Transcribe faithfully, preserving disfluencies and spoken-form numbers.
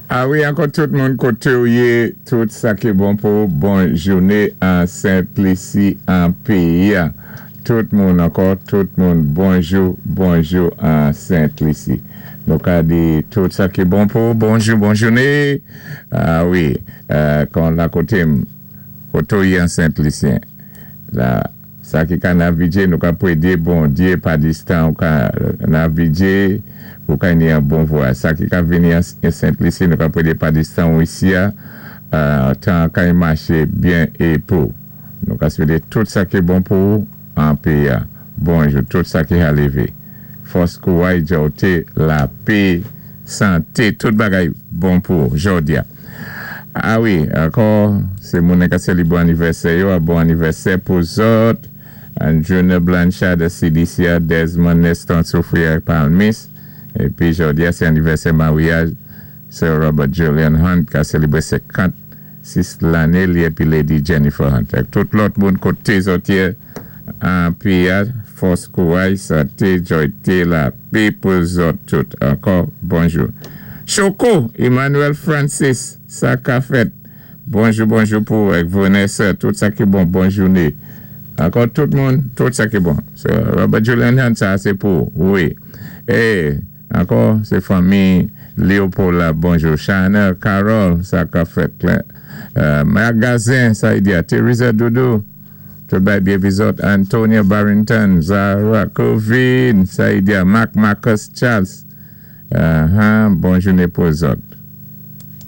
A wi, ankò tout moun koté ou yé, tout sa ki bon pou bon jouné an Sent Lisi an péyi. Tout moun ankò, tout moun bonjou, bonjou an Sent Lisi. Nou ka di tout sa ki bon pou bonjou, bon jouné. A wi, kon la koté koté ou yé an Sent Lisyen. La, sa ki ka navigé, nou ka pwédé Bondyé pa distan ou ka navigé, ou ka ni an bon vwayaj. Sa ki ka vini an Sent Lisi, nou ka pwédé pa distan ou isi a, tan ka y maché byen é pou. Nou ka swété tout sa ki bon pou an péyi a. Bonjou, tout sa ki a lévé. Fòs kouway, djòté, lapé, santé, tout bagay bon pou jòdi a. A wi, ankò, sé moun ka sélibwé anivèsè yo, a bon anivèsè pou zòt. Anjuna Blanchard de C D C, Desmond Neston Soufrière Palmis. Épi jòdi a, sé anivèsè maryaj Sir Robert Julian Hunt ka sélibwé senkant-sis lanné li épi Lady Jennifer Hunt. Ak tout lòt moun koté zòt yé an péyi a, fòs kouway, santé, djòyté, lapé pou zòt tout. Ankò, bonjou. Choco, Emmanuel Francis, sa ka fèt. Bonjou, bonjou pou ak Vanessa, tout sa ki bon, bon jouné. Ankò tout moun, tout sa ki bon. So, Robert Julian Hunt, sa sé pou, wi. É, ankò, sé fanmi Léopold la, bonjou. Chanel, Carol, sa ka fèt. Euh, Magazin, sa y di a, Teresa Doudou, tout bay byen vizòt, Antonia Barrington, Zara Covin, sa y di a, Mark Marcus Charles. Uh-huh, bon jouné pou zòt.